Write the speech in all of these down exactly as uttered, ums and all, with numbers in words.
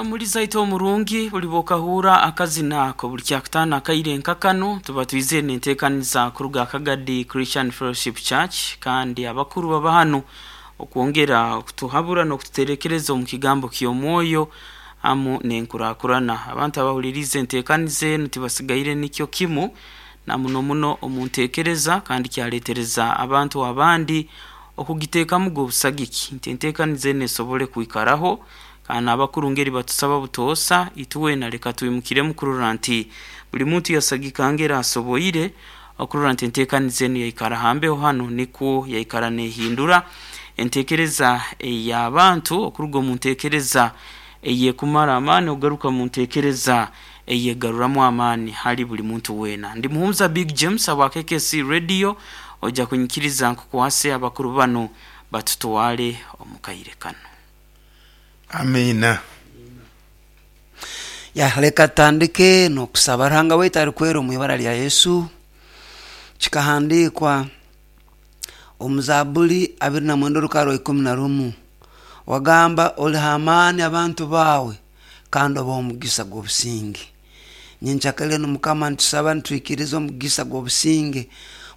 Omuliza aitu omurungi buli bwokahurra akazina ako buli kyakutaano akaire nka kanu tuba twizire nenteekaniza kuruga Kagadi Christian Fellowship Church, kandi abakuru baba hanu okwongera okutuhabura n'okututerekereza omu kigambo ky'omwoyo hamu n'enkurakurana. Abantu abahuliriize enteekaniza enu tibasigaire nikyo kimu na muno muno omu nteekereza, kandi kyaleetereza abantu abandi okugiteekamuga obusagiki nti enteekaniza enu esobole kwikaraho. Kandi abakuru ngeri batusaba butoosa itwena leka twimukiremu kurora nti buli muntu yasagika ngeri asoboire okurora nti enteekaniza enu yaikara hambeho hanu, nikwo yaikara neehindura enteekereza ey'abantu okuruga omu nteekereza eyekumara amaani okugaruka mu nteekereza eyegaruramu amaani hali buli muntu weena. Ndi Muhumuza Big James aba K K C Radio, ojja kunyikiriza nkukwase abakuru banu batutwale omu kaire kanu. Amiina. Ya, leka tutandike n'okusaba. Ruhanga waitu arikwera omu ibara lya Yesu. Kikahandiikwa omu Zaaburi abiri na mwenda orukara rwa ikumi na rumu. Wagamba oliha amaani abantu baawe kandi obaha omugisa gw'obusinge. Nyenkyakare enu Mukama nitusaba nitwikiriza omugisa gw'obusinge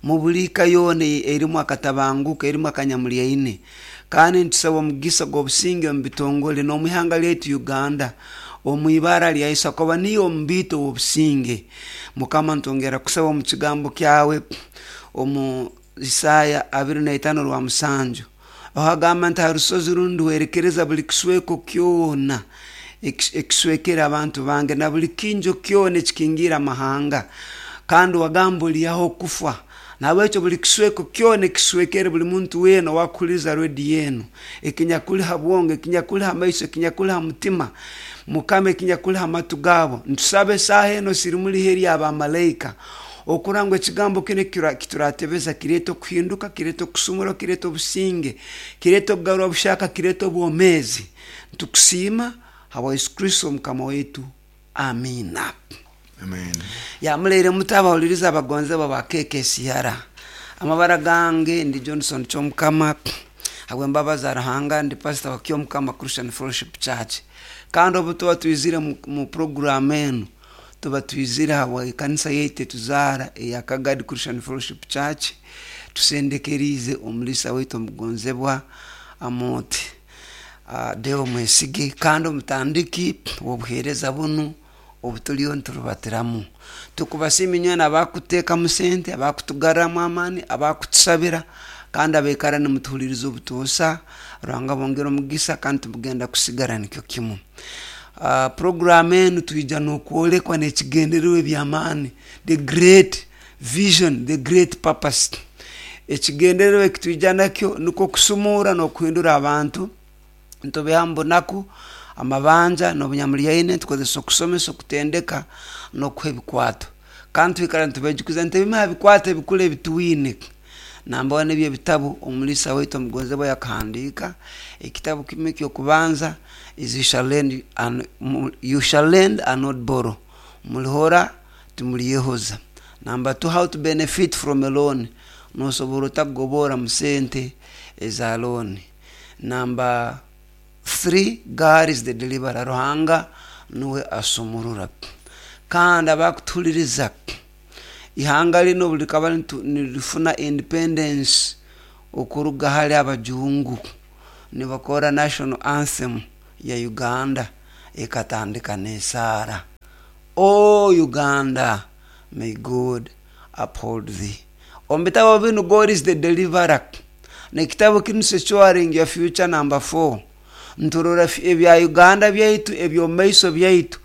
mu buli ka yoona erimu akatabanguko, erimu akanyamulyaine. Kandi nitusaba omugisa gw'obusinge omu bitongole n'omu ihanga lyaitu Uganda, omu ibara lya Yesu, akoba niyo omubiito w'obusinge. Mukama nitwongera kusaba omu kigambo kyawe omu Isaya abiri na itaano rwa musanju, aho agamba nti ha rusozi runu nduhwerekereza buli kisweko kyona ekiswekere abantu bange na buli kinjo kyona ekikingiire amahanga, kandi wagamba olihaho okufa. Nahabwekyo buli kisweko kyona ekiswekere buli muntu weena owakuhuliriza rediyo enu, ekinyakuli ha bwongo, ekinyakuli ha maiso, ekinyakuli ha mutima, Mukama ekinyakuli ha matu gaabo, nitusaba esaaha eno sirimuli ihe ry'abamalaika okurora ngu ekigambo kinu ekituratebeza kireeta okuhinduka, kireeta okusumura, kireeta obusinge, kireeta okugarura bushaka, kireeta obwomeezi. Nitukusiima habwa Yesu Kristo Mukama waitu. Amiina. Amen. Yamuleire muto abahuliriza abagonzebwa ba K K C R. Amabara gange ndi Johnson Kyomukama, habw'embabazi za Ruhanga ndi pastor wa Kyomukama Christian Fellowship Church. Kandi obu tuba twizire mu, mu program enu, tuba twizire habwa ekanisa yaitu etuzaara eya Kagadi Christian Fellowship Church, tusendekeriize omulisa waitu omugonzebwa Amooti uh, Deo Mwesige, kandi omutandiki w'obuheereza bunu obutuliyo niturubatiramu. Tukubasiima inywena abakuteekamu sente, abakutugarramu amaani, abakutusabira, kandi abaikara nimutuhuliriza obutoosa. Ruhanga bongere omugisa, kandi tumugenda kusigara nikyo kimu. Uh, program enu twija n'okwolekwa n'ekigendererwa eby'amaani, the great vision, the great purpose. Ekigendererwa ekitwija nakyo nikwo kusumura n'okuhindura abantu, nitubiha mu bunaku, amabanja n'obunyamulyaine, tukozesa okusomesa, okutendeka n'okuha ebikwato. Kandi twikara nitubejukiza nti ebimu ha bikwato ebikuru ebitwine namba one ebyo ebitabu omulisa waitu omugonzebwa yakahandiika. Ekitabu kimu eky'okubanza is you shall lend and, you shall lend and not borrow, mulihora timulyehoza. Number two, how to benefit from a loan, nosobora otakugobora mu sente eza loan. Number three, God is the deliverer, Ruhanga nuwe asumurura. Kandi abakutuhuliriza, ihanga linu obu likaba nirifuna independence okuruga hali abajungu, nibakora national anthem ya Uganda ekatandika n'esaara, O Uganda, may God uphold thee. Omu bitabo binu God is the deliverer, n'ekitabu kinu Securing Your Future number four, nturora ebya Uganda byaitu eby'omumaiso byaitu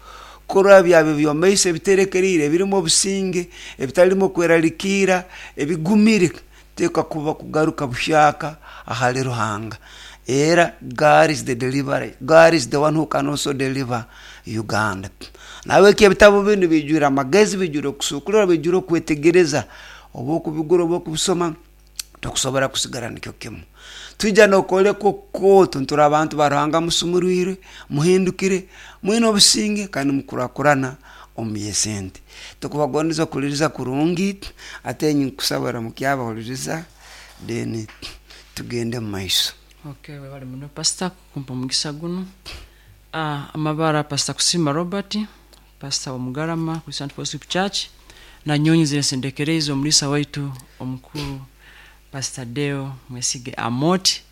kurora byaba eby'omumaiso ebiterekeriire, ebirimu obusinge, ebitalimu okweralikirra, ebigumire, teeka kuba kugaruka buhyaka ahali Ruhanga. Era God is the deliverer, God is the one who can also deliver Uganda. Nahabwekyo ebitabu binu bijwire amagezi, bijwire okusuukurra, bijwire okwetegereza, oba okubigura oba okubisoma, tokusobora kusigara nikyo kimu. Twija n'okwoleka okukooto nturi abantu ba Ruhanga musumurwire, muhindukire, mwine obusinge kandi mukurakurana omu by'esente. Tukubagondeza okuhuliriza kurungi, ate nkusaba oramukye abahuliriza, then tugende mu maiso. Okay, webale muno pastor kumpa omugisa guno. Ah, amabara Pastor Kusima Robert, Pastor wa Mugarama Christian Fellowship Church, na nyonyi zinesendekereza omulisa waitu omukuru Pastor Deo Mwesige Amoti,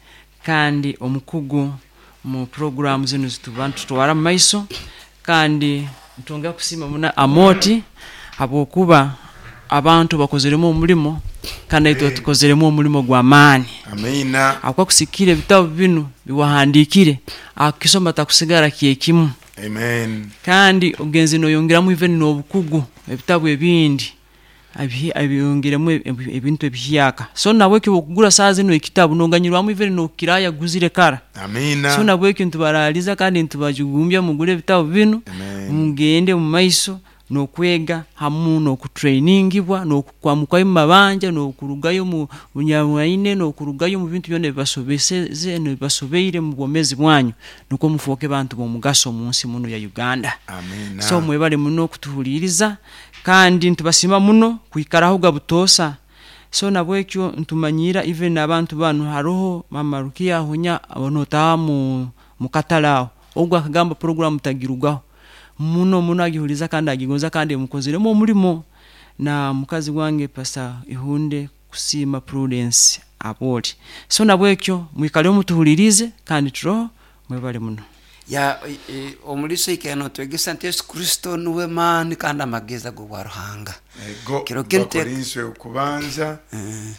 kandi omukugu mu programu zinu zituba tutwara mu maiso. Kandi ntongera kusima muna Amoti habwokuba abantu bakozeremu omulimo, kandi naitwe tukozeremu omulimo gwa maani. Amina. Akwa kusikira ebitabo binu biwahandikire, akisoma takusigara kyekimu. Amen. Kandi ogenzi noyongeramu even n'obukugu ebitabo ebindi abyongeremu ebintu ebihyaka. So nabwekyo okugura saa zino ekitabu noganyirwamu even n'okiraya guzire kara. Amina. So nabwekyo ntubaraliza kandi ntubajugumbya mugure ebitabo binu, mugende mu maiso n'okwega hamu n'okutrainingibwa n'okukwamukayo mu mabanja n'okurugayo mu bunyamwaine n'okurugayo mu bintu byonna ebibasobeseze n'ebibasobeire mu bwomezi bwanyu, nukwo mufuuke bantu b'omugaso mu nsi muno ya Uganda. Amina. So mwebale muno okutuhuliriza kandi ntubasima muno kwikaraho gabutoosa. So nabwekyo ntumanyira even abantu banu haroho Mama Rukia hunya abonotaaha mu katale aho ogwo akagamba programu tagirugaho muno muno, agihuliza kandi agigonza kandi mukozeremu omulimo. Na mukazi wange Pastor Ihunde Kusima Prudence Aboli. So nabwekyo mwikale mutuhulirize kandi turoho mwebale muno. Ya e, omulisa ikeno twegesa nti Yesu Kristo nuwe maani kandi amagezi ag'obwa Ruhanga. Ego Kiro kinte- Bakorinso okubanza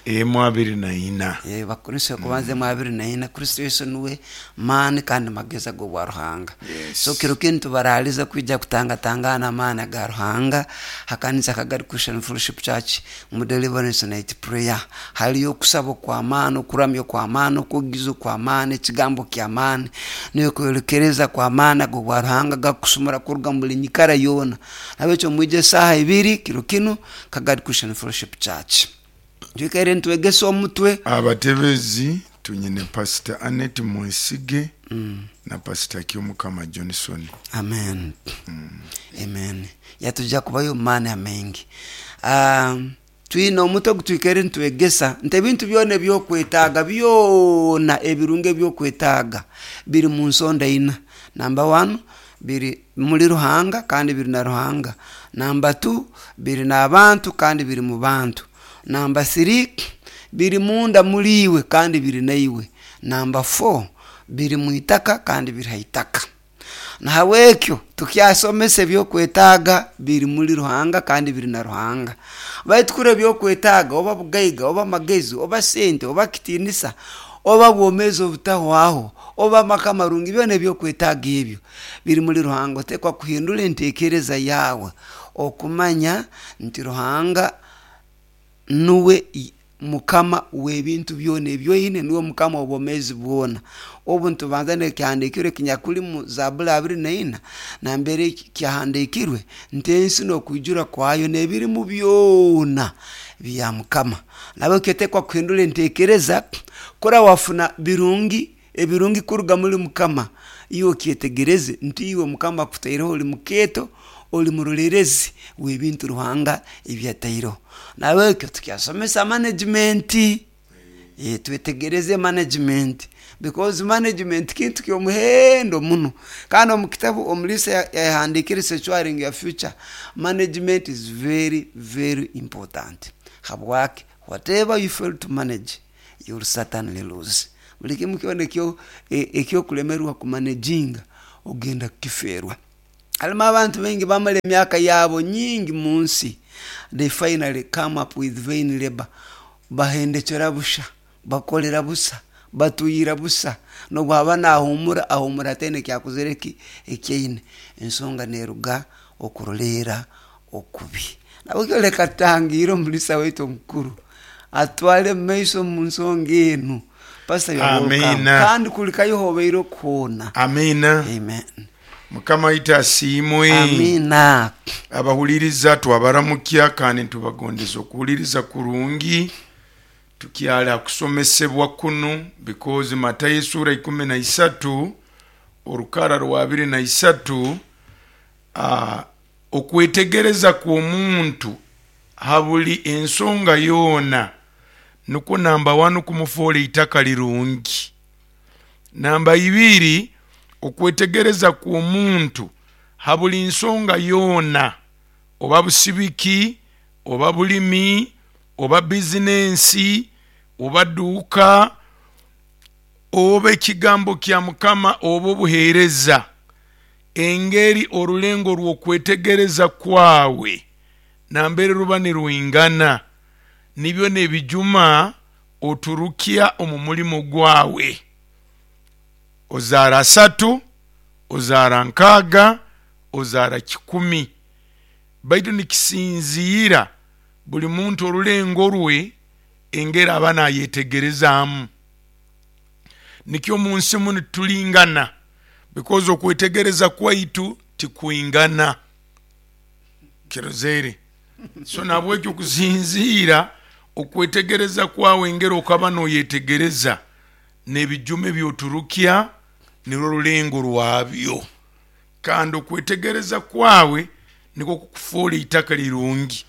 emu abiri na ina. Eh, Bakorinso okubanza emu abiri na ina, Kristo Yesu nuwe maani kandi magezi ag'obwa Ruhanga. Yes. So kiro kinu tubaraliza kwija kutangatangana amaani aga Ruhanga hakanisa Kagadi Christian Fellowship Church mu Deliverance Night Prayer. Haliyo okusaba kw'amaani, okuramya kw'amaani, okugiza kw'amaani, ekigambo ky'amaani, n'okwerekereza kw'amaani ag'obwa Ruhanga gakusumura kuruga mu buli nyikara yoona. Nabwekyo mwije esaaha ibiri kiro kinu Kagadi Christian Fellowship Church. Twikaire ntwegesa omutwe. Abatebezi tunyine Pastor Annette Mwesige na Pastor Kyomukama Johnson. Amen. Amen. Yatujja kubayo maani amengi. Um, twine omutwe gutwikaire ntwegesa nti ebintu byona ebyokwetaaga byona ebirungi ebyokwetaaga biri mu nsonda ina. Number one, biri muri Ruhanga kandi biri na Ruhanga. Number two, biri n'abantu kandi biri mu bantu. Number three, biri munda muriwe kandi biri naiwe. Number four, biri mu itaka kandi biri ha itaka. Nahabwekyo tukyasomesa ebyokwetaaga biri muri Ruhanga kandi biri na Ruhanga. Baitu kuri ebyokwetaaga oba bugaiga oba magezi oba sente oba kitinisa oba bwomezi obutahwaho oba amaka amarungi, byona ebyokwetaaga ebyo biri muri Ruhanga. Otekwa kuhindura entekereza yawe okumanya nti Ruhanga nuwe mukama w'ebintu byona ebyoine, nuwe mukama w'obwomezi bwona. Obu ntubanza nekyahandikirwe kinyakuli mu Zaburi abiri na ina nambere kyahandikirwe nti ensi n'okwijura kwayo n'ebirimu byona bya mukama. Nabwe otekwa kuhindura entekereza kora wafuna birungi ebirungi kuruga muri mukama, iwe okyetegereze nti iwe mukama akutaireho oli mukeeto, oli murolerezi w'ebintu Ruhanga ebyataireho. Nabwekyo tukyasomesa management. Eh, twetegereze management because management kintu ky'omuhendo muno. Kandi omu kitabu omulisa yahandikire Securing Your Future, management is very very important. Habwaki whatever you fail to manage you will certainly lose. Buli kimu kyona ekyo ekyokulemerwa kumanaginga ogenda kukiferwa. Halimu abantu baingi bamara emyaka yabo nyingi mu nsi, they finally come up with vain labor. Bahendekera busha, bakolera busa, batuyira busa, nobwaba nahumura ahumura atene kyakuzire ki ekyeine. Ensonga neruga okurolera okubi. Nabwo leka tutangire omulisa waitu omukuru atwale mu maiso mu nsonga enu. Pastor, you are welcome. Amina. Kandi kulikayo hobeire okuhoona. Amina. Amen. Mukama waitu asiimwe. Amina. Abahuliriza twabaramukya kandi ntubagondeza okuhuliriza kurungi. Tukyala kusomesebwa kuno because Matayo esura ikumi na isatu orukara rwa abiri na isatu, uh, okwetegereza kw'omuntu habuli ensonga yoona nukwo namba wanu kumufuula itaka lirungi, namba ibiri Okwetegereza kw'omuntu ha buli nsonga yoona, oba busibiki, oba bulimi, oba bizinensi, oba dduuka, oba ekigambo kya Mukama, oba obuheereza, engeri orulengo rw'okwetegereza kwawe nambere ruba nirwingana, nibyo n'ebijuma oturukya omu mulimo gwawe. Ozaara asatu, ozaara nkaaga, ozaara kikumi, baitu nikisinziira buli muntu orulengo rwe engeri aba nayetegerezaamu. Nikyo omu nsi munu tulingana, because okwetegereza kwaitu tikwingana kirozere. So nabwekyo okusinziira okwetegereza kwawe engeri okaba noyetegereza n'ebijuma ebyoturukya nirwo rulengo rwabyo, kandi okwetegereza kwawe nikwo kukufuura itaka lirungi,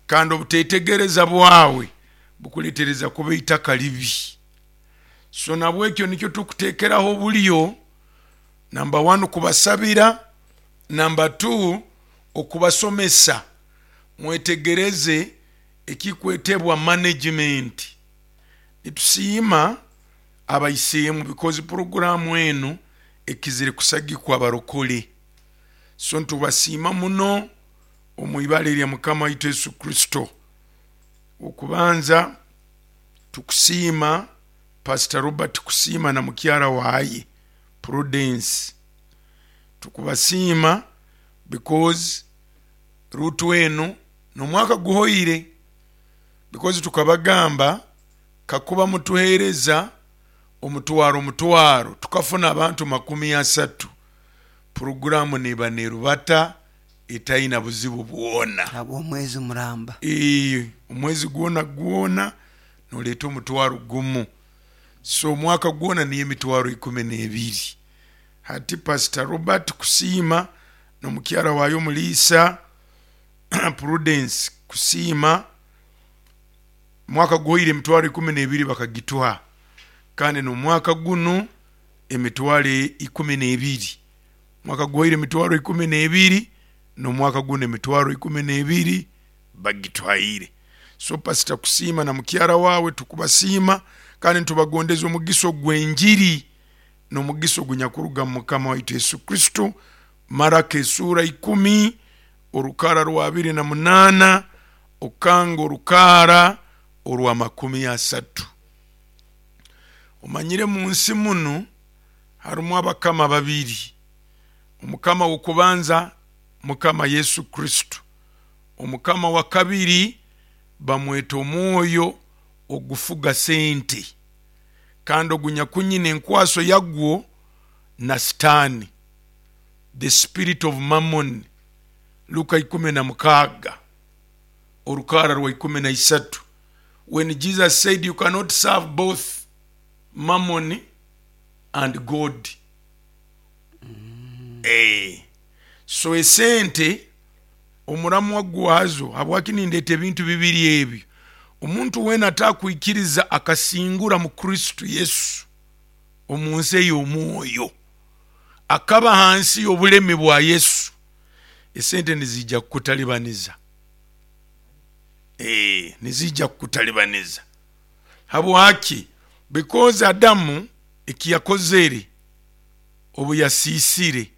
kandi obutetegereza bwawe bukuletereza kuba itaka libi. So nabwekyo nikyo tukuteekeraho obulyo, namba one kubasabira, namba two okubasomesa mwetegereze ekikwetebwa management. Nitusiima abaisiimu because puroguramu enu ekizire kusagikwa abarokole, so ntubasiima muno omu ibara erya Mukama waitu Yesu Kristo. Okubanza tukusiima Pastor Robert Kusiima na mukyara waye Prudence, tukubasiima because rutu enu n'omwaka guhoire, because tukabagamba kakuba mutuheereza omutwaro omutwaro tukafuna abantu makumi asatu, puroguramu neba nerubata etaina buzibu bwona. Habw'omwezi muramba. Ee, omwezi gwona gwona noleeta omutwaro gumu, so omwaka gwona niyo emitwaro ikumi n'ebiri. Hati Pastor Robert Kusiima n'omukyara wayo Muliisa Prudence Kusiima, mwaka guhoire emitwaro ikumi n'ebiri bakagitwa, kandi n'omwaka gunu emitwaro ikumi n'ebiri, mwaka guhoire emitwaro ikumi n'ebiri, n'omwaka guno emitwaro ikumi n'ebiri bagitwaire. So Pastor Kusiima na mukyara wawe tukubasiima, kandi ntubagondeza omugiso gw'enjiri n'omugiso gunyakuruga mu Mukama waitu Yesu Kristo. Maraka esuura ikumi orukara rwa abiri na munaana okanga orukara orwa makumi asatu. Omanyire mu nsi munu harimu abakama babiri, omukama w'okubanza Mukama Yesu Kristo, omukama wa kabiri bamweta omwoyo ogufuga sente, kandi ogunyakunyina enkwaso yagwo na Sitaani, the spirit of mammon. Luka ikumi na mukaaga orukara rwa ikumi na isatu, when Jesus said you cannot serve both mammon and God. Mm. Eh. So esente omuramwa gwazo, habwaki nindeeta ebintu bibiri ebyo? Omuntu weena atakwikiriza akasingura mu Kristo Yesu omu nsi ey'omwoyo, akaba hansi y'obulemi bwa Yesu, esente nizijja kukutalibaniza. Eh, nizijja kukutalibaniza. Habwaki? Because Adamu ekiyakozere obu yasiisire,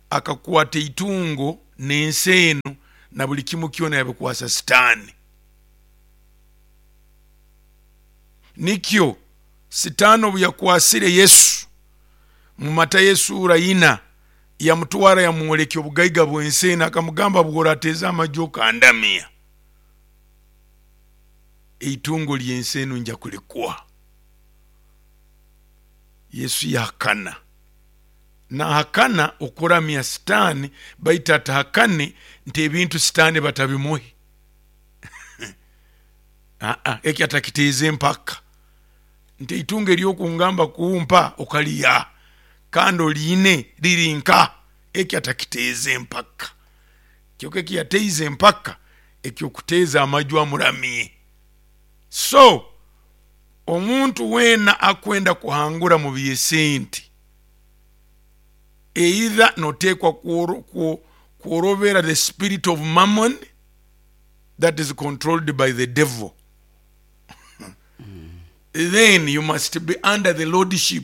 akakwata itungo n'ensi eno na buli kimu kyona yabikwasa Sitaani. Nikyo Sitaani obu yakwasire Yesu mu Matayo esuura ina, yamutwara yamwolekya obugaiga bw'ensi eno, akamugamba bw'orateeza amaju okandamya, eitungo ly'ensi eno nja kulikuha. Yesu yahakana, nahakana okuramya Sitaani, baitu atahakane nti ebintu Sitaani batabimuhe. Aa, eki atakiteeze empaka nti eitungo eryokungamba kumpa okaliya kandi oliine riri nka, eki atakiteeze empaka. Kyokka eki yateize empaka ekyokuteeza amaju amuramye. So omuntu weena akwenda kuhangura mu by'esente Either noteekwa kworo- kwo- kworobera the spirit of mammon that is controlled by the devil. Then you must be under the lordship.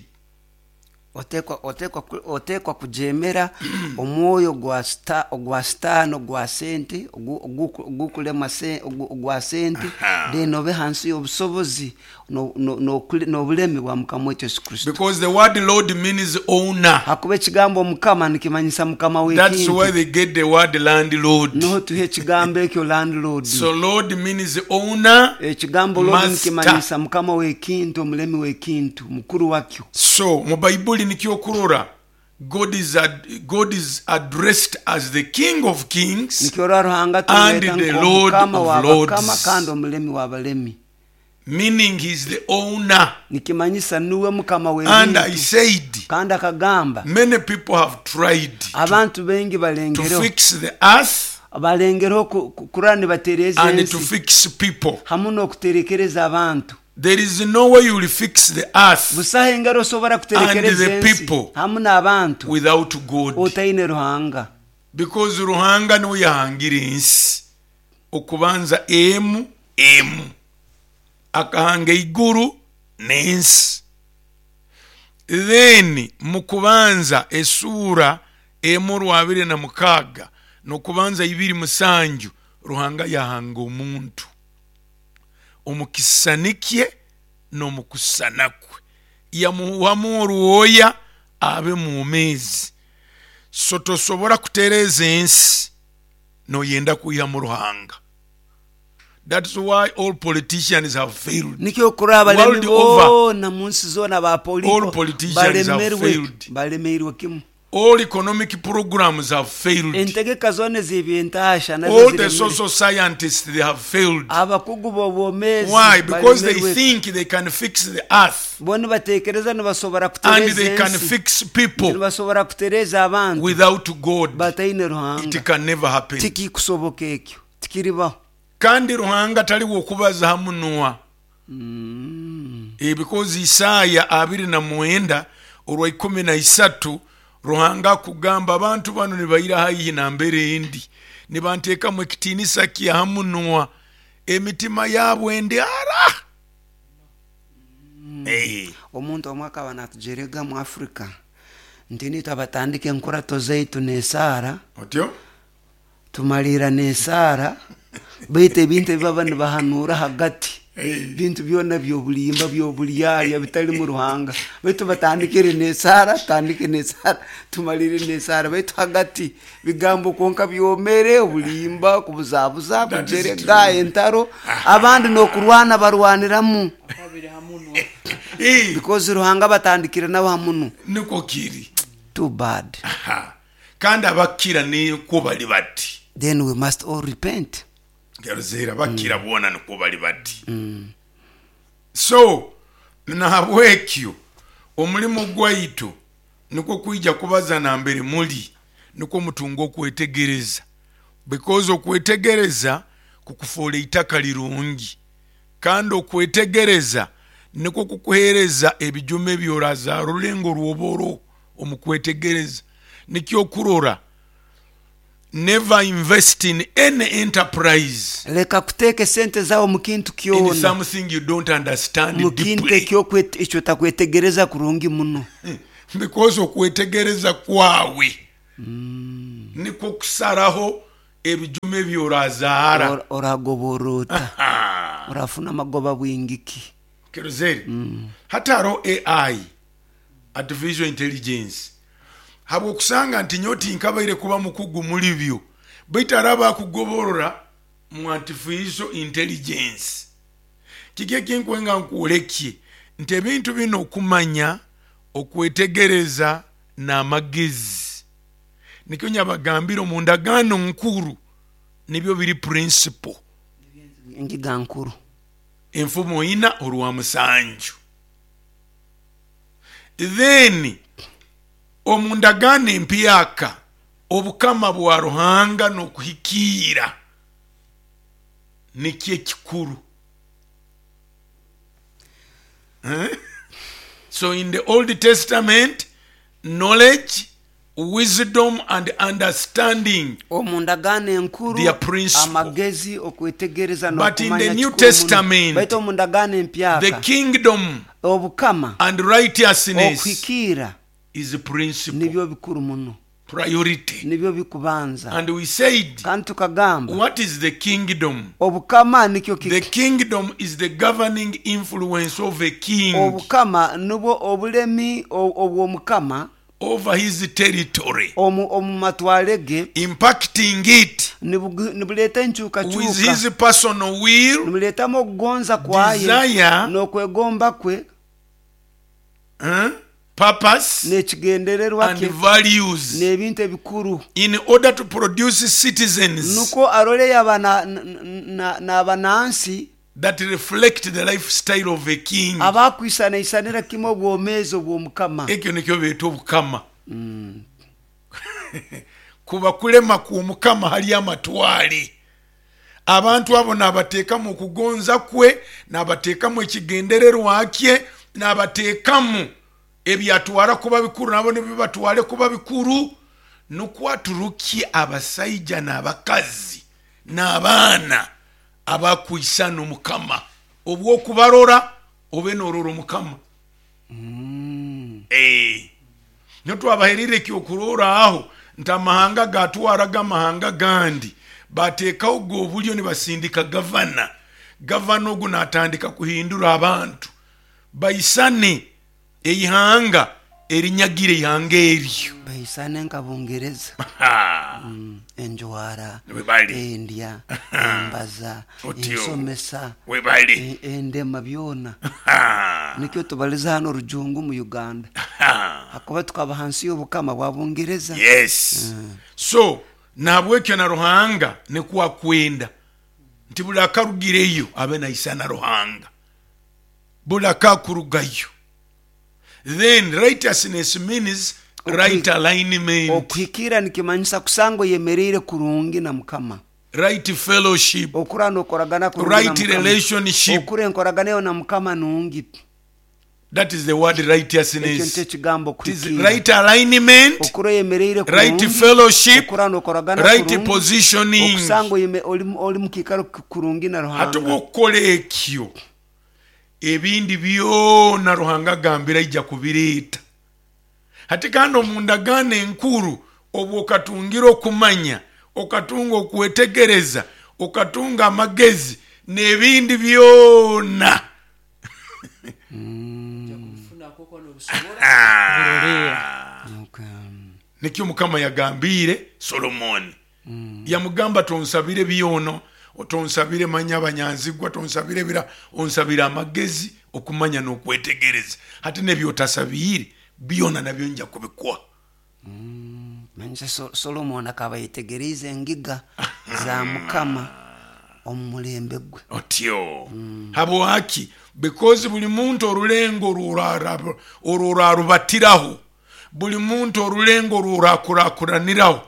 Otekwa otekwa ku- otekwa kujemera omwoyo gwa sta ogwa sitaani, ogwa sente, ogu- ogu- ogukulema se- ogu- ogwa sente, then obe hansi y'obusobozi no- no- n'okule- n'obulemi bwa Mukama waitu Yesu Kristo. Because the word Lord means owner. Hakuba ekigambo Mukama nikimanyisa Mukama That's why w'ekintu. they get the word landlord. Niho tuha ekigambo ekyo landlord. So Lord means owner. Ekigambo Lord Master. nikimanyisa Mukama w'ekintu, omulemi w'ekintu, mukuru wakyo. So mu Baibuli nikyo kurora God is, ad, God is addressed as the King of Kings Nikyo rora Ruhanga and tumweta the Lord nk'Omukama of w'abakama Lords. kandi omulemi w'abalemi. Meaning he's the owner. Nikimanyisa niwe Mukama And I w'ebintu. said, Kandi akagamba, many people have tried to, abantu baingi to balengereho fix the earth balengereho ku- ku- kurora nibatereeza and to ensi fix people. hamu n'okuterekereza abantu. There is no way you will fix the earth Busaho engeri osobora kuterekereza and the ensi people hamu n'abantu without God. otaine Ruhanga. Because Ruhanga niwe yahangira ensi okubanza emu emu, akahanga iguru n'ensi. Then mu kubanza esuura emu rwabiri na mukaaga n'okubanza ibiri musanju, Ruhanga yahanga omuntu omukisani kye n'omukusana kwe, yamuhamu orwoya abe mwomeezi. So tosobora kutereeza ensi noyenda kwihamu Ruhanga. That's why all politicians have failed. Nikyo kurora abalemi World over. boona mu nsi zoona All abapoliko politicians have balemerwe failed. balemeirwe kimu. All economic programs have failed. Entegeka zoona ez'ebyentasha nazo All the ziremere. social scientists, they have failed. Abakugu b'obwomeezi Why? Because they balemerwe. think they can fix the earth Bo nibatekereza nibasobora and kutereeza they can ensi, fix people nibasobora kutereeza abantu without God. bataine It Ruhanga. can never happen. Tikikusoboka ekyo, tikiribaho. Kandi Ruhanga taliwo okubaza hamunwa. Eh, because Isaya abiri na mwenda olwa ikumi na isatu, Ruhanga akugamba abantu bano nibaira haihi nambere endi, nibanteekamu ekitiinisa kya hamunwa, emitima yaabwe endi ara. Eh, Omuntu omwe akaba natujerega mu Afrika nti nitwe abatandika enkurato zaitu n'esaara, otyo tumalira n'esaara, baitu ebintu ebibaba nibahanuura hagati, Eh. bintu byona byobulimba byobulyalya bitalimu Ruhanga. Baitu batandikire n'esaara, tutandike n'esaara, tumalire n'esaara, baitu hagati bigambo konka byomere obulimba, kubuzabuza, That is kujerega, true. entaro, abandi n'okurwana barwaniramu. Eh, Because Ruhanga batandikire nabo hamunu. Niko kiri. Too bad. Aha. Kandi abakira nikwo bali bati. Then we must all repent. Geruzera bakira boona nikwo bali bati. So nahabwekyo omulimu gwaitu nikwo kwija kubaza nambere muli, nikwo mutunga okwetegereza, because okwetegereza kukufuula eitaka lirungi, kandi okwetegereza nikwo kukuheereza ebijuma ebyorazaara orulengo rwoboro omu kwetegereza. Nikyo okurora, never invest in any enterprise Leka kuteeka esente zawe mu kintu in kyona, something you don't understand mu kintu deeply. ekyokwete- ekyo otakwetegereza kurungi muno. Because okwetegereza kwawe nikwo kusaraho ebijuma ebyorazaara. Ora- oragobora ota, Ah, orafuna amagoba bwingiki. Kerozeri, hati hariho A I, artificial intelligence, habwokusanga nti nyowe tinkabaire kuba mukugu muli byo, baitu hariho abakugoborora mu artificial intelligence. Kiki ekinkwenga nkwolekye nti ebintu bino okumanya, okwetegereza n'amagezi, nikyo nyabagambire omu ndagaano nkuru nibyo biri principle. Engiga nkuru. Enfumo ina orwa musanju. Then omu ndagaano empyaka, obukama bwa Ruhanga n'okuhikiira nikyo ekikuru. Eh? So in the Old Testament, knowledge, wisdom and understanding Omu ndagaano enkuru Their principle. amagezi, okwetegereza But in n'okumanya the New kikuru muno. Testament, Baitu omu ndagaano the empyaka kingdom obukama and righteousness okuhikiira is principle, nibyo bikuru muno, priority. Nibyo bikubanza. And we said, Kandi tukagamba, what is the kingdom? Obukama nikyo The kiki? kingdom is the governing influence of a king Obukama nubwo obulemi o- obw'omukama over his territory, omu omu matwale ge, impacting it nibugu- nibuleeta with enkyukakyuka, his personal will, nibuleetamu okugonza kwaye desire, n'okwegomba kwe eh, purpose, n'ekigendererwa and kye values n'ebintu ebikuru, in order to produce citizens nukwo arole yaba na- na- na- n'abanansi that reflect the lifestyle of a king. abakwisanaisanira kimwe obwomeezi obw'omukama. Ekyo nikyo beeta obukama, kuba kulema kw'omukama hali amatwale. Abantu abo n'abateekamu okugonza kwe, n'abateekamu ekigendererwa kye, n'abateekamu ebyatwara kuba bikuru, nabo nibibatwale kuba bikuru, nukwo aturukye abasaija n'abakazi n'abaana abakwisana omukama, obwokubarora obe norora omukama. Eh. Niyo twabaherire ekyokuroraaho nti amahanga gatwaraga amahanga gandi bateekawo gwe obulyo nibasindika gavana. Gavana ogu natandika kuhindura abantu baisane eihanga erinyagire ihanga eryo. Baisane nka Bungereza. Ha. Enjwara, Webale. endya, embaza, Otyo. ensomesa, Webale. e- endema, byona. Ha. Nikyo tubaliza hano orujungu mu Uganda, Ha. hakuba tukaba hansi y'obukama bwa Bungereza. Yes, so nahabwekyo na Ruhanga nikwakwenda nti buli akarugireyo abe naisana Ruhanga, buli akakurugayo. Then righteousness means right alignment, Okuhikira nikimanyisa kusanga oyemereire kurungi na Mukama, right fellowship, okura nokoragana kurungi na right Mukama. relationship. Okura enkoragana eyo na Mukama nungi. That is the word Ekyo nikyo righteousness. ekigambo It is kuhikira. right alignment, Okura oyemereire right kurungi, fellowship, okura nokoragana right kurungi, positioning. okusanga oyeme- oli oli mukiikaro kurungi na Ate Ruhanga. bwokukola ekyo, ebindi byona Ruhanga agambira aija kubireeta. Ate kandi omu ndagaano enkuru, obwo okatungira okumanya, okatunga okwetegereza, okatunga amagezi n'ebindi byona. Biroleera. Okay. Nikyo Mukama yagambiire Solomoni, yamugamba, tonsabire byono, tonsabire manya abanyanzigwa, tonsabire bira, onsabire amagezi, okumanya n'okwetegereza. Ate nebyotasabiire byona nabyo nja kubikuwa. Manyisa So- solomoni akaba yetegereize engiga za Mukama omu mulembe gwe. Otyo habwaki? Because buli muntu orulengo orwo orwarubatiraho, buli muntu orulengo orwo orakurakuraniraho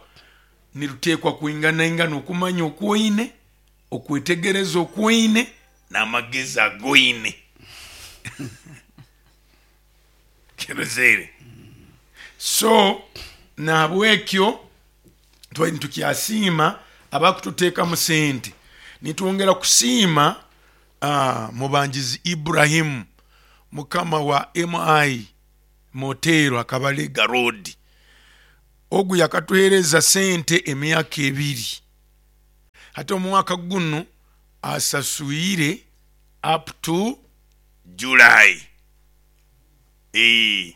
niruteekwa kwinganaingana okumanya okwoine, okwetegereza okwoine n'amagezi agoine. Kirozere. So nahabwekyo twali nitukyasiima abakututeekamu sente. Nitwongera kusiima uh, mubangizi Ibrahimu, mukama wa Mi Motero Akabalega Road. Ogu yakatuheereza sente emyaka ebiri, ate omwaka guno asasuire up to July. Eh,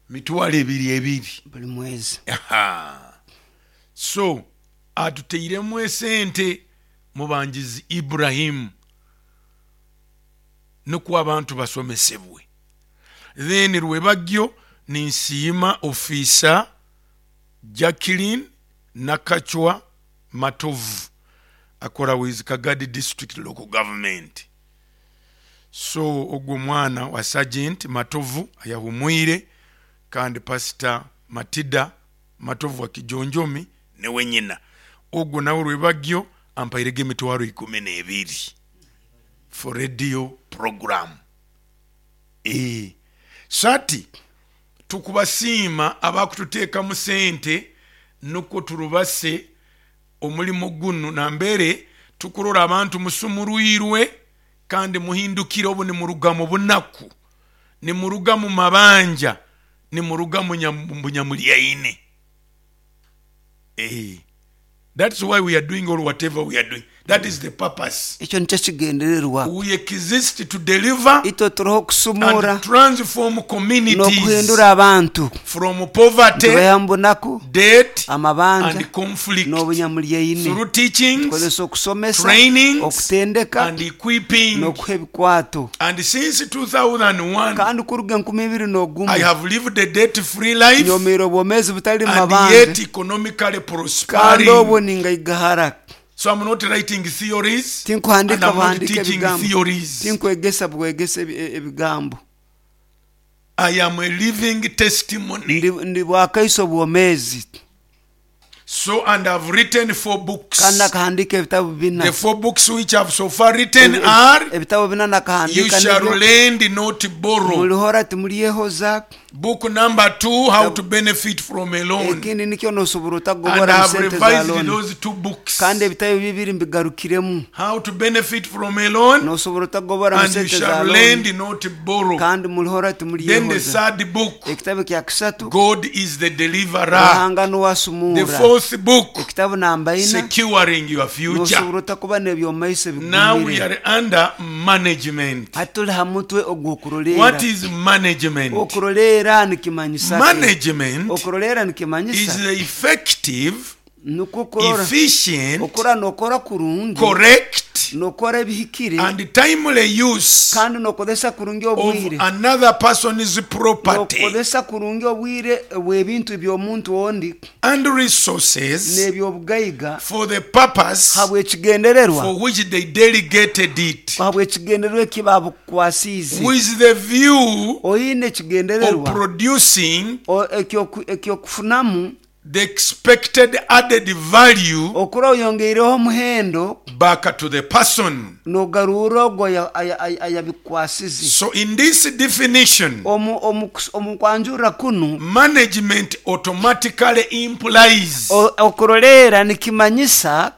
mitwalo ebiri ebiri buli mwezi. Aha. So atuteiremu esente mubangizi Ibrahimu nukwo abantu basomesebwe. Then rwebagyo ninsiima ofiisa Jacqueline Nakacwa Matovu, akora with Kagadi District Local Government. So ogwo mwana wa Sergeant Matovu ayahumwire, kandi Pastor Matida Matovu wa Kijonjomi newe nyina. Ogwo nawe rwebagyo ampairege emitwaro ikumi n'ebiri for radio program. Eh, sati Tukubasiima abakututeekamu sente nukwo turubase omulimu gunu nambere tukurora abantu musumurwirwe kandi muhindukire obu nimuruga mu bunaku, nimuruga mu mabanja, nimuruga mu bunyamulyaine. Eh, that's why we are doing all whatever we are doing. That is the purpose. Ekyo nikyo kigendererwa. We exist to deliver itwe turiho kusumura and transform communities n'okuhindura abantu from poverty, tubaha mu bunaku, debt, amabanja and conflict n'obunyamulyaine through teachings, tukozesa okusomesa, trainings, okutendeka and equipping. n'okuha ebikwato. And since two thousand one, kandi kuruga enkumi ibiri n'ogumu I have lived a debt-free life nyomeire obwomeezi butali and mabanja yet economically kandi prospering. obwo ningaigahara. So I'm not writing theories and Tinkuhandika I'm not buhandika teaching ebigambo. theories. Tinkwegesa bwegesa ebi- ebigambo. I am a living testimony. Ndi, ndi bwakaiso obwomeezi. So, and I've written four books. Kandi nakahandika ebitabo bina. The four books which I've so far written Ebi- are ebitabo bina You nakahandika Shall nibyo, Lend, Not Borrow. Mulihora timulyehoza. Book number two, How to Benefit from a Loan. Ekindi nikyo nosobora And otagobora mu I've sente za revised loan. those two books. Kandi ebitabo bibiri mbigarukiremu. How to Benefit from a Loan Nosobora otagobora mu and You sente za Shall loan. Lend, Not Borrow. Kandi mulihora Then the timulyehoza. third book, Ekitabo kya kisatu, God is the Deliverer. Ruhanga The nuwasumura. fourth book, Ekitabo namba ina, Securing Your Future. nosobora otakuba n'ebyomaiso Now we bigumire. are under management. Hati tuli ha mutwe ogw'okuroleera. What is management? Okuroleera nikimanyisa ki? Management Okuroleera is nikimanyisa the effective, nukwo kurora efficient, okora nokora kurungi, correct, nokora ebihikire, and timely use kandi nokozesa kurungi of obwire, another person's property nokozesa kurungi obwire bw'ebintu by'omuntu ondi and resources n'ebyobugaiga for the purpose habw'ekigendererwa for which they delegated it, habw'ekigendererwa eki babukwasiize, with the view oyine of ekigendererwa producing o- ekyoku- ekyokufunamu the expected added value okura oyongeireho omuhendo back to the person. nogarura ogwo ayabikwasize. So in this definition, Omu- omu omu kwanjura kunu, management automatically implies o- okuroleera nikimanyisa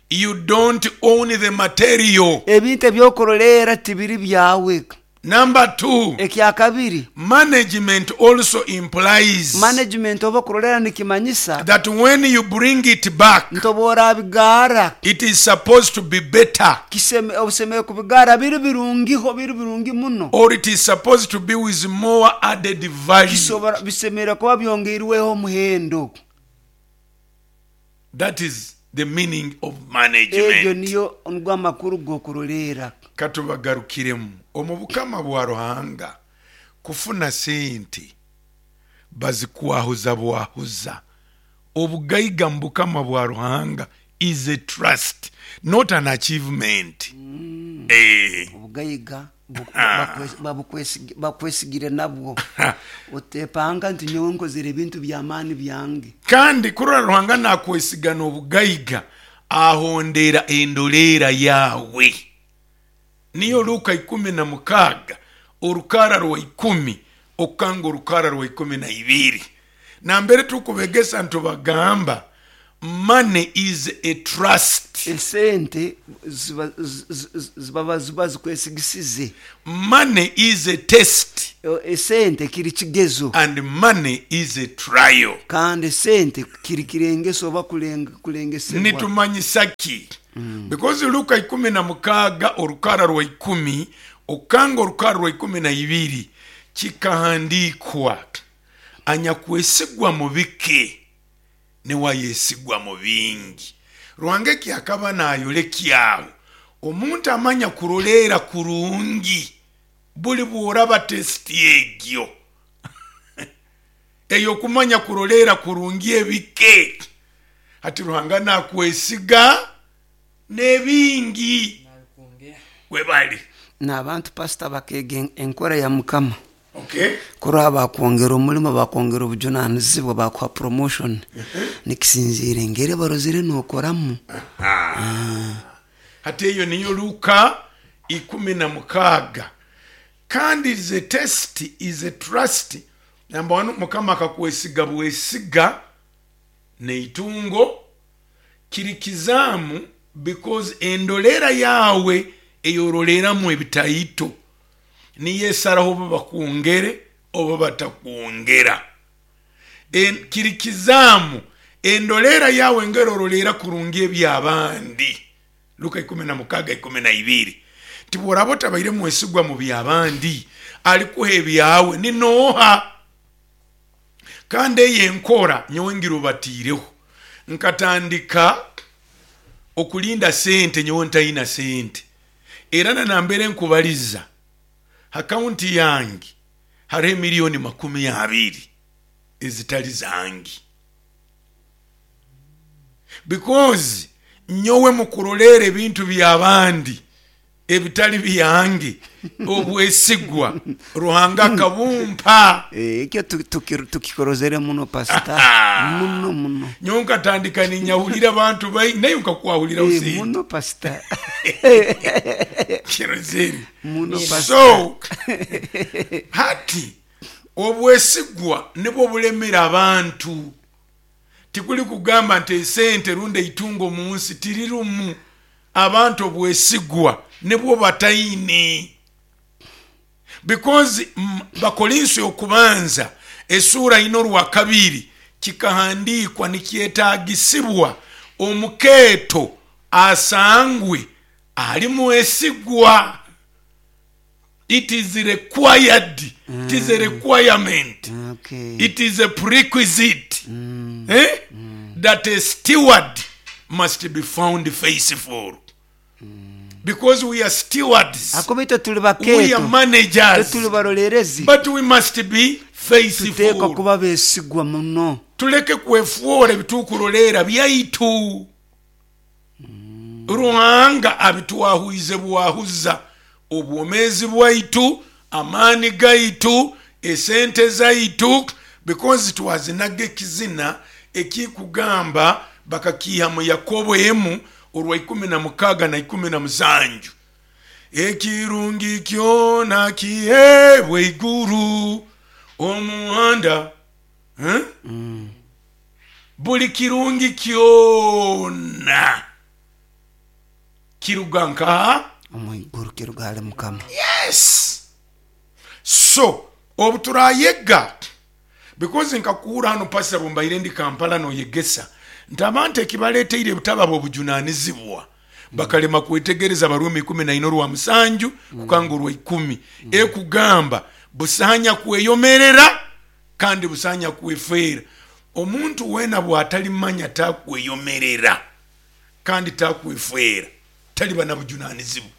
you don't own the material. ebintu ebyokuroleera tibiri byawe. Number two, Ekyakabiri, management also implies management oba okuroleera nikimanyisa that when you bring it back, nti oba orabigaara it is supposed to be better, kiseme obusemere kubigaara biri birungiho biri birungi muno, or it is supposed to be with more added value. Kisobora bisemere kuba byongeirweho omuhendo. That is the meaning of Egyo management. niyo nigwo amakuru g'okuroleera. Katubagarukiremu omu bukama bwa Ruhanga kufuna sente bazikwahuza bwahuza. Obugaiga mu bukama bwa Ruhanga is a trust, not an achievement. Mm. Eh. Obugaiga bu- bakwesigire nabwo otepanga nti nyowe nkozere ebintu by'amaani byange. Kandi kurora Ruhanga nakwesigana obugaiga ahondera endoleera yawe. Niyo Luka ikumi na mukaaga orukara rwa ikumi okukanga orukara rwa ikumi na ibiri nambere tukubegesa ntubagamba money is a trust. Esente ziba, zi- zi- zibaba ziba zikwesigisize. Money is a test. Esente kiri kigezo. And money is a trial. Kandi esente kiri kirengeso oba kulenge- kulengesebwa. Nitumanyisa ki? Because Luka ikumi na mukaaga orukara rwa ikumi okukanga orukara rwa ikumi na ibiri kikahandikwa anyakwesigwa mu bike niwayesigwa mu bingi. Ruhanga eki akaba nayolekyawo omuntu amanya kuroleera kurungi buli bworaba tesiti egyo eyo okumanya kuroleera kurungi ebike ati Ruhanga nakwesiga n'ebingi webali. N'abantu pasita bakeega enkora ya Mukama. Okay. Kuraba bakwongera omulimo bakwongera obujunanizibwa bakuha promotion nikisinziire engeri barozire nokoramu. Hati eyo niyo Luka ikumi na mukaaga. Kandi the test is a trust Namba one, Mukama akakwesiga bwesiga neitungo kirikizaamu, because endolera yawe eyoroleramu ebitaito niyo esaraho oba bakwongere oba batakwongera. En, kirikizaamu endolera yawe ngerorolera kurungi ebyabandi. Luka ikumi na mukaga ikumi na ibiri nti bworaba otabaire mwesigwa mu byabandi, alikuha ebyawe ninooha? Kandi eyo enkora nyowe ngirubatiireho, nkatandika okulinda sente nyowe ntayina sente, era nanambere nkubaliza akaunti yange hariho emiliyoni makumi abiri ezitali zange, because nyowe mukurolera ebintu byabandi ebitali byange obwesigwa Ruhanga akabumpa. Ekyo tukikorozere muno pasita, muno muno. Nyowe nkatandika ninyahulira abantu bai naye nkakwahulira Eh, usente muno pasita. Kirozere muno pasita. So hati obwesigwa nibwo bulemera abantu. Tikuli kugamba nti esente rundi eitungo mu nsi tirirumu, abantu obwesigwa nibwo bataine. Because mm, Bakorinso okubanza esura ino rwa kabiri kikahandikwa nikyetagisibwa omukeeto asangwe ali mwesigwa. It is required, it is a requirement. Okay. It is a prerequisite, eh? That a steward must be found faithful, because we are stewards, ako baitu tuli we are bakeeto, managers, tuli barolerezi, but we must be tuteekwa faithful. kuba besigwa muno. Tuleke kwefuora ebitukurolera byaitu. Ruhanga abitwahuize bwahuza obwomezi bwaitu, amaani gaitu, esente zaitu, because twazinaga ekizina ekikugamba bakakiha mu Yakobo emu orwa ikumi na mukaga na ikumi na musanju, ekirungi kyona kihebwe iguru omuhanda, eh? Buli kirungi kyona kiruga nkaha? Omwiguru, kiruga hali Mukama. Yes. So obu turayega, because nkakuura hano pastor bumbaire ndi Kampala noyegesa nti abantu ekibaleteire ebitaba bobujunanizibwa bakalema kwetegereza Barumi ikumi na ina orwa musanju kukanga orwa ikumi ekugamba busanya kweyomerera kandi busanya kwefeera. Omuntu wena bwatalimanya takweyomerera kandi takwefeera, taliba na bujunanizibwa.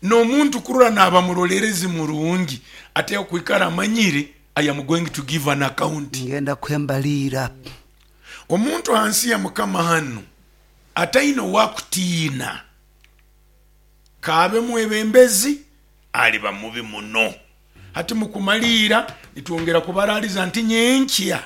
N'omuntu kurora naba murolerezi murungi ate okwikara amanyire I am going to give an account. Ngenda kwembalira. Omuntu hansi ya Mukama hano ataine owakutiina kaabe mwebembezi aliba mubi muno. Hati mukumaliira nitwongera kubaraliza nti nyenkya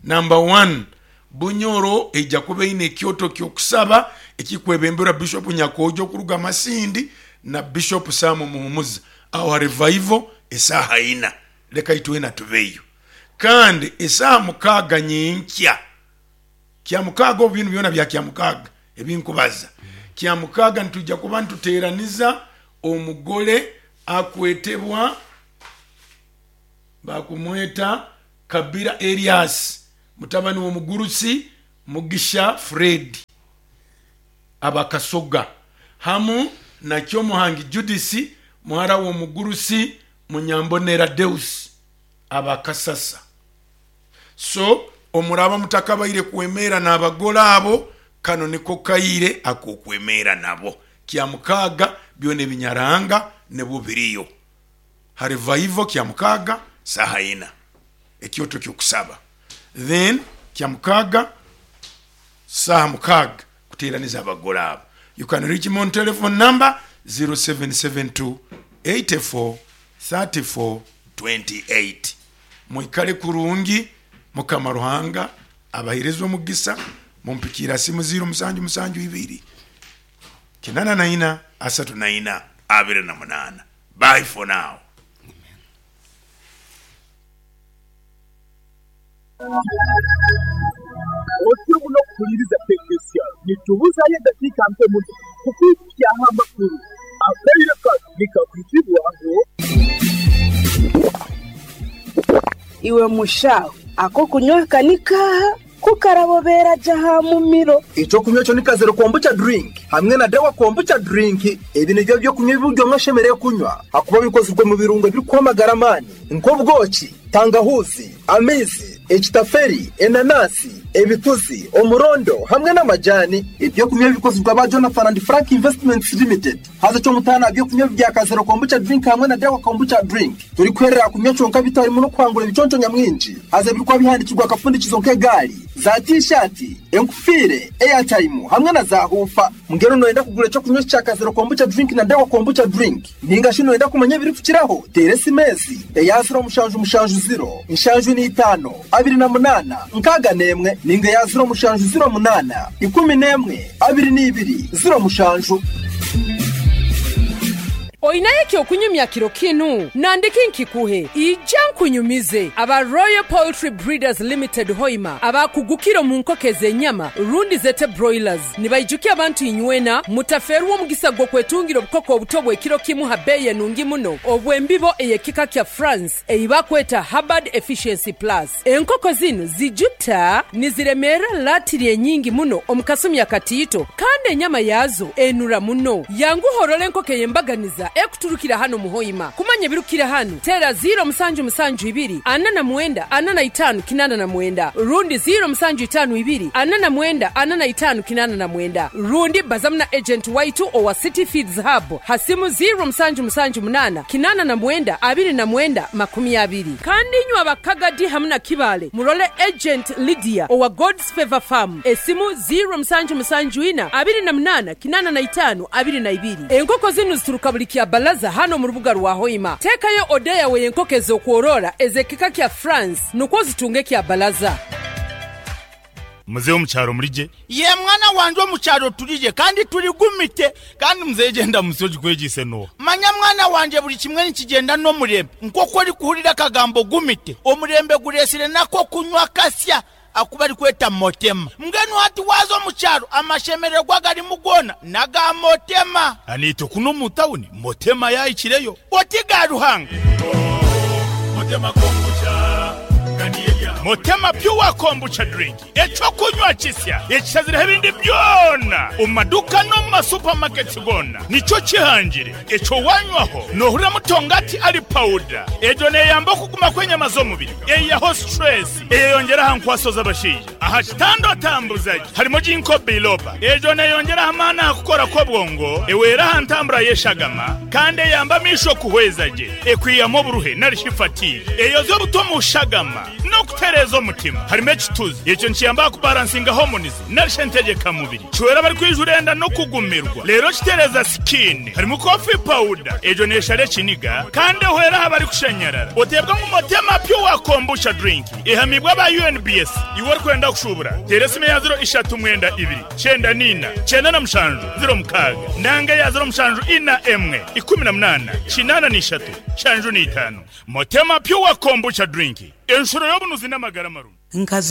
number one Bunyoro ejja kuba eine ekyoto kyokusaba ekikwebemberwa Bishop Nyakojo okuruga Masindi na Bishop Sam Muhumuza aho revival esaha ina, leka itwena tubeyo. Kandi esaha mukaga nyenkya kya mukaga, obu bintu byona bya kya mukaga ebinkubaza kya mukaga, nitujja kuba nituteraniza omugole akwetebwa bakumweta Kabira Elias mutabani w'omugurusi Mugisha Fred abakasoga, hamu na Kyomuhangi Judisi muhara w'omugurusi Munyambonera Deus abakasasa. So omuraba mutakabaire kwemera n'abagole abo, kano niko kaire akokwemera nabo kya mukaga byona ebinyaranga nebo biriyo ha revival kya mukaga saha ina ekyoto kyokusaba, then kya mukaga saha mukaga kuteraniza abagole abo. You can reach me on telephone number zero seven seven two eight four thirty four twenty eight. Mwikale kurungi, Mukama Ruhanga abahereze omugisa. Mumpikira simu zero musanju musanju ibiri kinana na ina asatu na ina abiri na munana. Bye for now. Amen. Otyo muno kuhuliriza K K C R, nitubuzayo eddakiika nke muno kukwikyaho amakuru. Akaire kano nikakwizibwaho. Iwe mushaho, ako kunywa kanikaha kukarabobera jaha mumiro. Ekyokunywa ekyo ni Kazero Kombucha drink hamwe na Dawa Kombucha drink. Ebi nibyo byokunywa ebi buri omwe ashemereire kunywa, hakuba bikozirwe mu birungo ebirikuha amagara amaani, nk'obwoki, tangahuzi, amaizi, ekitaferi, enanasi, ebituzi, omurondo hamwe n'amajani. Ebyokunywa bikozirwe aba Jonathan and Frank Investments Limited. Haza kyomutaano aha byokunywa bya Kazero Kombucha drink hamwe na Dawa Kombucha drink turikuherera kunywa kyonka, bitarimu n'okuhangura ebiconco nyamwingi. Haza ebirikuba bihandikirwa akafundikizo nk'egaari, za tishati, enkufiire, airtime hamwe na za hufa. Mbwenu noyenda kugura ekyokunywa kya Kazero Kombucha drink na Dawa Kombucha drink, ninga shi noyenda kumanya ebirikukiraho, teera esimu ezi eya ziro mushanju mushanju ziro nshanju n'itaano abiri na munaana nkaaga n'emwe, ninga eya ziro mushanju ziro munaana ikumi n'emwe abiri n'ibiri ziro mushanju. Oyinayo ekyokunyumya kiro kinu? Nandiki nkikuhe, ija nkunyumize. Aba Royal Poultry Breeders Limited Hoima, abakugukira mu nkoko ez'enyama rundi zete broilers, nibaijukia abantu inywena mutaferwa omugisa gw'okwetungira obukoko obuto bw'ekiro kimu ha beeyi enungi muno, obw'embibo ey'ekika kya France eibakweta Hubbard Efficiency Plus. Enkoko zinu zijuta niziremeera latiri enyingi muno omu kasumi akatiito, kandi enyama yazo enura muno. Yanguhorora enkoko ey'embaganiza ekuturukira hano muhoima. Kumanya ebirukira hano, tera ziro musanju musanju ibiri ana na mwenda ana na itano kinana na mwenda, rundi ziro musanju itano ibiri ana na mwenda ana na itano kinana na mwenda, rundi bazamu na agent waitu owa City Feeds Hub hasimu ziro musanju musanju munana kinana na mwenda abiri na mwenda makumi abiri. Kandi inywe abakagadi hamwe na Kibale, murole agent Lydia owa God's Favor Farm, esimu ziro musanju musanju ina abiri na munana kinana na itano abiri na ibiri. Enkoko zinu zituruka buli kya balaza hano mu rubuga rwa Hoima. Tekayo oda yawe y'enkoko ez'okworora ez'ekika kya France nukwo zitunge kya balaza. Muzehe omukyaro murije? Ye mwana wanje, omukyaro turije kandi turigumite. Kandi muzehe, genda musoji kwegise no. Manya mwana wanje, buli kimwe nikigenda n'omurembe. Nk'oku ori kuhurira akagambo gumite, omurembe guresire nako kunywa kasya akuba ari kweta Motema. Mbwenu hati waza omukyaro, amashemererwa garimu gona naga Motema. Anito kuno mu tawuni Motema yayikireyo. Oti ga Ruhanga. Motema Kombucha. Motema Pure Kombucha drink, ekyokunywa kisya ekishazireho ebindi byona omu maduka no mu masupamaketi gona. Nikyo kihangire ekyo wanywaho nohurira mutongati ari powder. Egyo neyamba okuguma kw'enyama z'omubiri, eyaho stress, eyeyongera aha nkwaso z'abashaija, aha kitanda otambuzaje. Harimo ginkgo biloba, egyo neyongera amaani aha kukora kw'obwongo, ewera aha ntambura y'eshagama, kandi eyamba amisho kuhweza gye, ekwiyamu oburuhe narishi fatigue, eyoza obuto mu shagama n'okutereeza omutima. Harimo ekituzi, ekyo nikiyamba kubalansinga hormones narishi entegekamubiri, kiwera bari kwijura enda no kugumirwa, rero kitereza skin. Harimo coffee powder, egyo neshara ekiniga kandi ehwera aha bari kushanyarara. Otebwa ngu Motema Pure Kombucha drink ehamibwa aba U N B S. Iwe orikwenda kushubura, tera esimu ya ziro ishatu mwenda ibiri cyenda nina cyenda na mushanju ziro mukaaga, nanga ya ziro mushanju ina emwe ikumi na munana kinana n'ishatu shanju n'itanu. Motema Pure Kombucha drink, enshuro y'obunuzi n'amagara marungi. Nkazo.